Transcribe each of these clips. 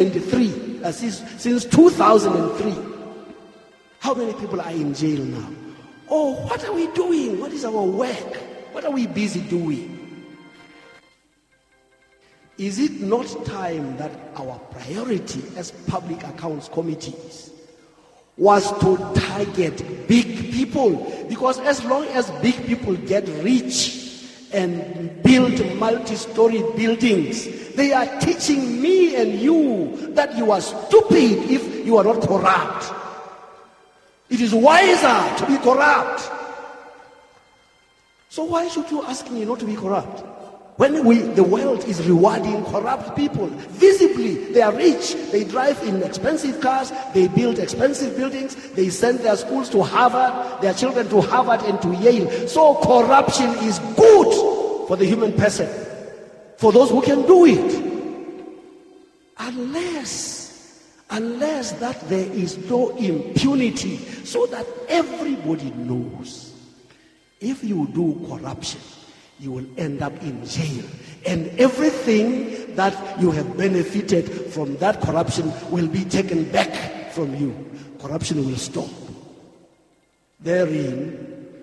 23, since 2003. How many people are in jail now? Oh, what are we doing? What is our work? What are we busy doing? Is it not time that our priority as public accounts committees was to target big people? Because as long as big people get rich and build multi-story buildings, they are teaching me and you that you are stupid if you are not corrupt. It is wiser to be corrupt. So why should you ask me not to be corrupt? When the world is rewarding corrupt people, visibly, they are rich, they drive in expensive cars, they build expensive buildings, they send their schools to Harvard, their children to Harvard and to Yale. So corruption is good for the human person, for those who can do it. Unless that there is no impunity, so that everybody knows if you do corruption, you will end up in jail. And everything that you have benefited from that corruption will be taken back from you. Corruption will stop. Therein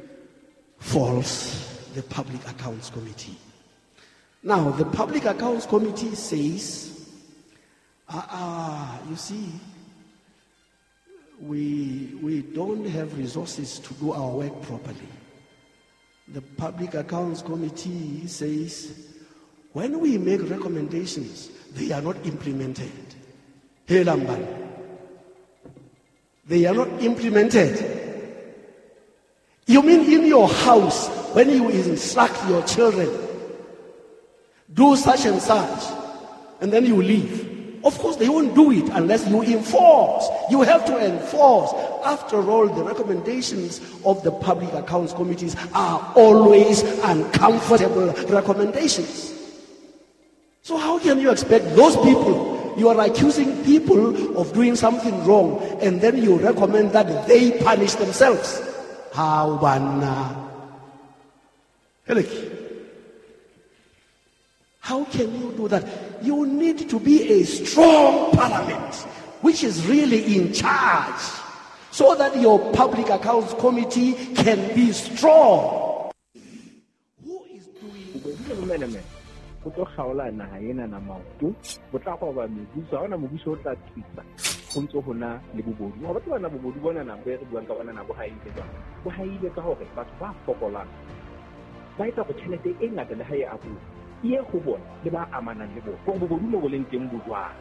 falls the Public Accounts Committee. Now, the Public Accounts Committee says, you see, we don't have resources to do our work properly. The Public Accounts Committee says, when we make recommendations, they are not implemented. Hey, Lamban. They are not implemented. You mean in your house, when you instruct your children, do such and such, and then you leave. Of course, they won't do it unless you enforce. You have to enforce. After all, the recommendations of the Public Accounts Committees are always uncomfortable recommendations. So how can you expect those people? You are accusing people of doing something wrong, and then you recommend that they punish themselves. How banna? How can you do that? You need to be a strong parliament, which is really in charge, so that your Public Accounts Committee can be strong. Who is doing this? Go tlo kgaola naha ena na maoto, bo tla goba mebuso, ha hona mobuso o tla tsitsa go ntse ho na le bobodu. Wa batho bana bobodu bona na bo re buang ka bona na bo haile jwang? Bo haile ka hore batho ba fokolang ba etsa go tjhelete e ngata le ha e abuwa e go bona le ba amanang le bona. Gore bobodu mo bo leng teng bo jwang?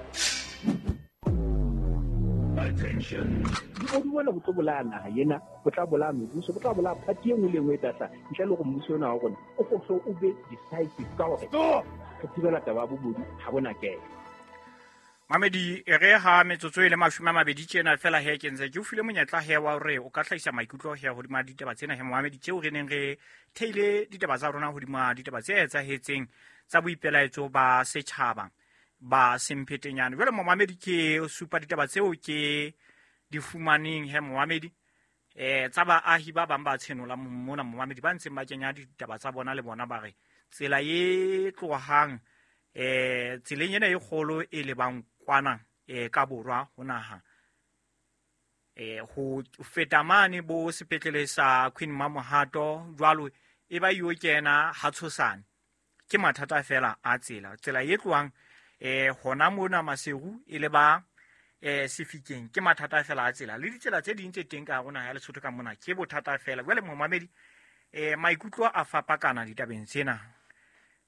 Attention. Bobodu bona bo tlo bolaya naha ena, bo tla bolaya mebuso, bo tla bolaya party e nngwe le nngwe e tla hlaha. Ntle le hore mmuso ona wa rona o kgohle o be decisive ka hore re thibela taba ya bobodu ha bona kelo. Mamedi e re ha metsotso e le 20 tjena fela he ke ntse ke o file monyetla he wa hore o ka hlahisa maikutlo he hodima ditaba tsena he Mohamedi tseo re neng re theile ditaba tsa rona hodima ditaba tse etsahetseng tsa boipelaetso ba setjhaba ba semphetenyane. Jwale Mohamedi ke supa ditaba tseo ke di fumaneng he Mohamedi tsa baahi ba bang ba tshenola mona Mohamedi ba ntseng ba kenya ditaba tsa bona le bona ba re tsela e tlohang tseleng ena e kgolo e lebang kwana ka borwa ho naha ho feta mane bo sepetlele sa Queen Mamohato jwalo e ba yo kena ha tshosane ke mathata fela a tsela tsela e tlohang hona mona Maseru e le ba sefikeng ke mathata fela a tsela le ditsela tse ding tse teng ka rona ya Lesotho ka mona ke bothata fela. Jwale momamedi maikutlo a fapakana ditabeng tsena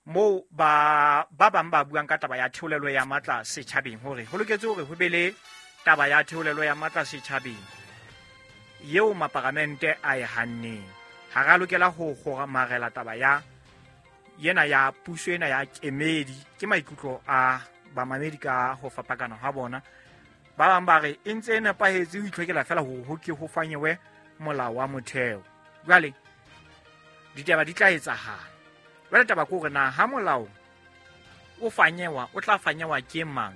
mo ba bang ba buang ka taba ya theolelo ya matla setjhabeng hore ho loketse hore ho be le taba ya theolelo ya matla setjhabeng eo maparamente a e hanneng. Ha ra lokela ho kgomarela taba ya yena ya puso ena ya kemedi. Ke maikutlo a bamamedi ka ho fapakana ha bona. Ba bang ba re e ntse e nepahetse ho itlhokela fela hore ho ke ho fanyewe molao wa motheo. Jwale ditaba di tla etsahala. Jwale taba ke hore na ha molao o fanyewa o tla fanyewa ke mang,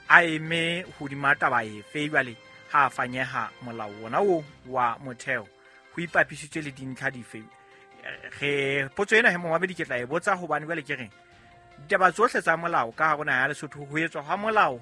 a eme hodima taba efe? Jwale ha a fanyeha molao wona o wa motheo ho ipapisitswe le dintlha dife? Re potso ena he momamedi ke tla e botsa hobane jwale ke reng Ditaba tsohle tsa molao ka hare ho naha ya Lesotho, ho etswa hwa molao.